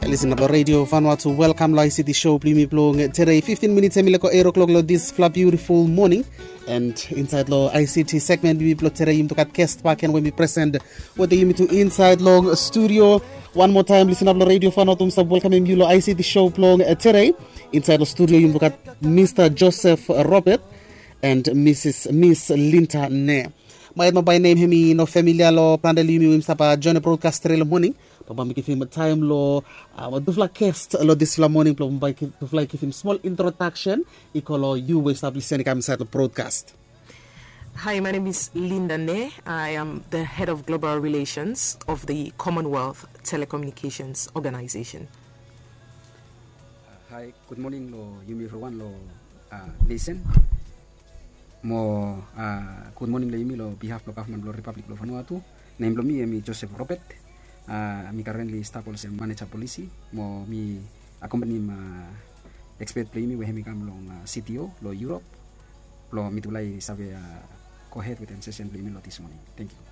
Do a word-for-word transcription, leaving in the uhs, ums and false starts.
Listen up lo Radio Vanuatu, welcome lo I C T show blo yumi blo tede. Fifteen minutes hemi leko eight o'clock lo this fla beautiful morning. And inside lo I C T segment blo yumi blo tede, yumi tu gat guest back and we mi present wetem yumi tu inside lo studio. One more time, listen up lo Radio Vanuatu, mi stap welcome yu lo I C T show blo tede. Inside lo studio yumi tu gat Mister Joseph Robert and Missus Miss Linda Ne. Maet mo by name hemi no familia lo plante lo yumi we yumi stap join broadcast tede lo morning. Bambae mi givim taem lo tufala guest lo disfala morning blo bambae tufala givim small introduction. I go lo yu we stap listen i kam inside lo broadcast. Hi, my name is Linda Ne. I am the head of global relations of the Commonwealth Telecommunications Organization. Hi, good morning lo yumi everyone lo uh, listen. Mo uh, good morning lo yumi lo behalf lo government lo Republic lo Vanuatu. Nem blo mi hemi Joseph Robert. Uh, mi currently stap olsem manager policy. Mo mi accompany uh, expert blo yumi we hemi kam long uh, C T O lo Europe. Blo mitufala i save uh, go ahead wetem session blo yumi lo this morning. Thank you.